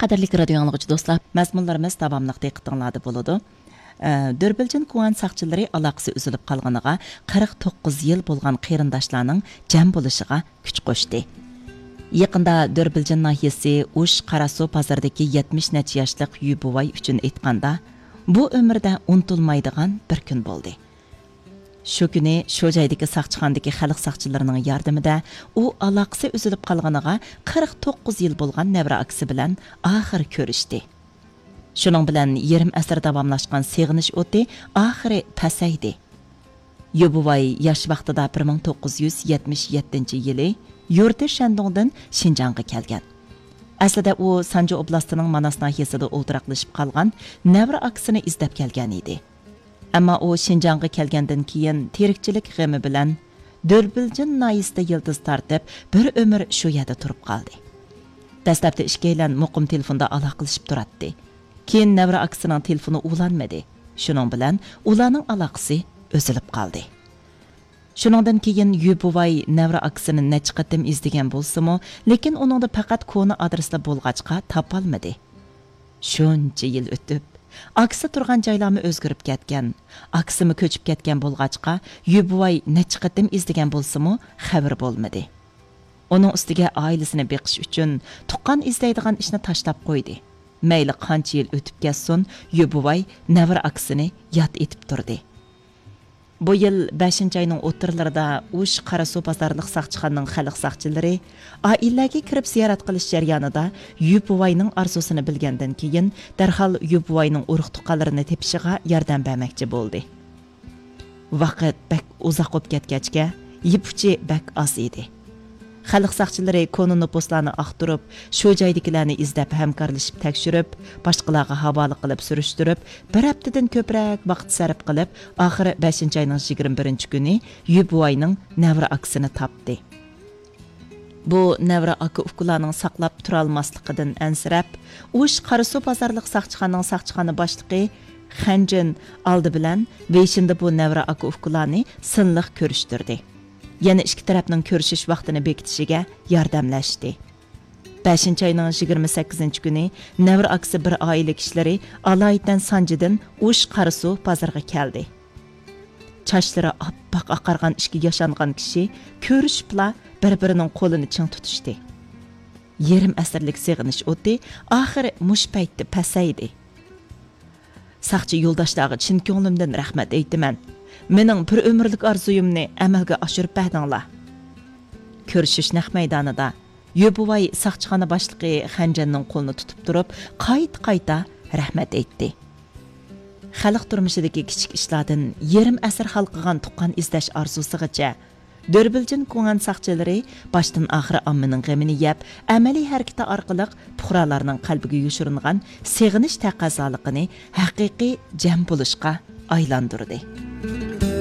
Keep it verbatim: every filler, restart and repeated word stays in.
قەدىرلىك رادىيو ئاڭلىغۇچى دوستلار، مەزمۇنلىرىمىز داۋاملىق دىققىتىڭلاردا بولىدۇ. ئە، دۆربىلجىن كۇڭئەن ساقچىلىرى ئالاقىسى ئۈزۈلۈپ قالغىنىغا قىرىق توققۇز يىل بولغان قېرىنداشلارنىڭ جەم بولۇشىغا كۈچ قوشتى. يېقىندا دۆربىلجىن ناھىيەسى ئۇش قاراسۇ بازىرىدىكى يەتمىش نەچچە ياشلىق يۈ بوۋاي ئۈچۈن ئېيتقاندا، بۇ ئۆمۈردە ئۇنتۇلمايدىغان بىر كۈن بولدى. شۇ كۈنى شۇ جايدىكى ساقچىخانىدىكى خەلق ساقچىلىرىنىڭ ياردىمىدە ئۇ ئالاقىسى ئۈزۈلۈپ قالغىنىغا قىرىق توققۇز يىل بولغان نەۋرە ئاكىسى بىلەن ئاخىرى كۆرۈشتى. شۇنىڭ بىلەن يېرىم ئەسىر داۋاملاشقان سېغىنىش ئوتى ئاخىرى پەسەيدى. يۇ بوۋاي ياش ۋاقتىدا بىر مىڭ توققۇز يۈز يەتمىش يەتتىنچى يىلى يۇرتى شەندۇڭدىن شىنجاڭغا كەلگەن. ئەسلىدە ئۇ سانجى ئوبلاستىنىڭ ماناس ناھىيەسىدە ئولتۇراقلىشىپ قالغان نەۋرە ئاكىسىنى ئىزدەپ كەلگەن ئىدى. ئەمما ئۇ شىنجاڭغا كەلگەندىن كېيىن تىرىكچىلىك غېمى بىلەن دۆربىلجىن ناھىيەسىدە يىلتىز تارتىپ، بىر ئۆمۈر شۇ يەردە تۇرۇپ قالدى. دەسلەپتە ئىككىيلەن مۇقىم تېلېفوندا ئالاقىلىشىپ تۇراتتى. كېيىن نەۋرە ئاكىسىنىڭ تېلېفونى ئۇلانمىدى. شۇنىڭ بىلەن ئۇلارنىڭ ئالاقىسى ئۈزۈلۈپ قالدى. شۇنىڭدىن كېيىن يۈ بوۋاي نەۋرە ئاكىسىنى نەچچە قېتىم ئىزدىگەن بولسىمۇ، لېكىن ئۇنىڭدا پەقەت كونا ئادرېسلا بولغاچقا تاپالمىدى. شۇنچە يىل ئۆتۈپ، ئاكىسى تۇرغان جايلارمۇ ئۆزگىرىپ كەتكەن، ئاكىسىمۇ كۆچۈپ كەتكەن بولغاچقا، يۈ بوۋاي نەچچە قېتىم ئىزدىگەن بولسىمۇ، خەۋىرى بولمىدى. ئۇنىڭ ئۈستىگە ئائىلىسىنى بېقىش ئۈچۈن تۇغقان ئىزدەيدىغان ئىشنى تاشلاپ قويدى. مەيلى قانچە يىل ئۆتۈپ كەتسۇن، يۈ بوۋاي نەۋرە ئاكىسىنى ياد ئېتىپ تۇردى. بۇ يىل بەشىنچى ئاينىڭ ئوتتۇرىلىرىدا ئۇش قاراسۇ بازارلىق ساقچىخانىنىڭ خەلق ساقچىلىرى ئائىلىلەرگە كىرىپ زىيارەت قىلىش جەريانىدا يۈ بوۋاينىڭ ئارزۇسىنى بىلگەندىن كېيىن، دەرھال يۈ بوۋاينىڭ ئۇرۇق-تۇغقانلىرىنى تېپىشىغا ياردەم بەرمەكچى بولدى. ۋاقىت بەك ئۇزاق بولۇپ كەتكەچكە، يىپ ئۇچى بەك ئاز ئىدى. خەلق ساقچىلىرى كونا نوپۇسلارنى ئاختۇرۇپ، شۇ جايدىكىلەرنى ئىزدەپ ھەمكارلىشىپ تەكشۈرۈپ، باشقىلارغا ھاۋالە قىلىپ سۈرۈشتۈرۈپ، بىر ھەپتىدىن كۆپرەك ۋاقىت سەرپ قىلىپ، ئاخىرى بەشىنچى ئاينىڭ يىگىرمە بىرىنچى كۈنى يۈ بوۋاينىڭ نەۋرە ئاكىسىنى تاپتى. بۇ نەۋرە ئاكا-ئۇكىلارنىڭ ساقلاپ تۇرالماسلىقىدىن ئەنسىرەپ، ئۇش قاراسۇ بازارلىق ساقچىخانىنىڭ ساقچىخانا باشلىقى خەنجىن ئالدى بىلەن ۋېيشىندا بۇ نەۋرە ئاكا-ئۇكىلارنى سىنلىق كۆرۈشتۈردى. يەنە ئىككى تەرەپنىڭ كۆرۈشۈش ۋاقتىنى بېكىتىشىگە ياردەملەشتى. بەشىنچى ئاينىڭ يىگىرمە سەككىزىنچى كۈنى نەۋرە ئاكىسى بىر ئائىلە كىشىلىرى ئالايىتەن سانجىدىن ئۇش قاراسۇ بازىرىغا كەلدى. چاچلىرى ئاپئاق ئاقارغان ئىككى ياشانغان كىشى كۆرۈشۈپلا بىر-بىرىنىڭ قولىنى چىڭ تۇتۇشتى. يېرىم ئەسىرلىك سېغىنىش ئوتى ئاخىرى مۇشۇ پەيتتە پەسەيدى. ساقچى يولداشلارغا چىن كۆڭلۈمدىن رەھمەت ئېيتىمەن. مېنىڭ بىر ئۆمۈرلۈك ئارزۇيۇمنى ئەمەلگە ئاشۇرۇپ بەردىڭلار. كۆرۈشۈش نەق مەيدانىدا يۈ بوۋاي ساقچىخانا باشلىقى خەنجەننىڭ قولىنى تۇتۇپ تۇرۇپ، قايتا-قايتا رەھمەت ئېيتتى. خەلق تۇرمۇشىدىكى كىچىك ئىشلاردىن يېرىم ئەسىر ھالقىغان تۇغقان ئىزدەش ئارزۇسىغىچە، دۆربىلجىن كۇڭئەن ساقچىلىرى باشتىن ئاخىر ئاممىنىڭ غېمىنى يەپ، ئەمەلىي ھەرىكىتى ئارقىلىق پۇقرالارنىڭ قەلبىگە يوشۇرۇنغان سېغىنىش تەقەززالىقىنى ھەقىقىي جەم بولۇشقا ئايلاندۇردى.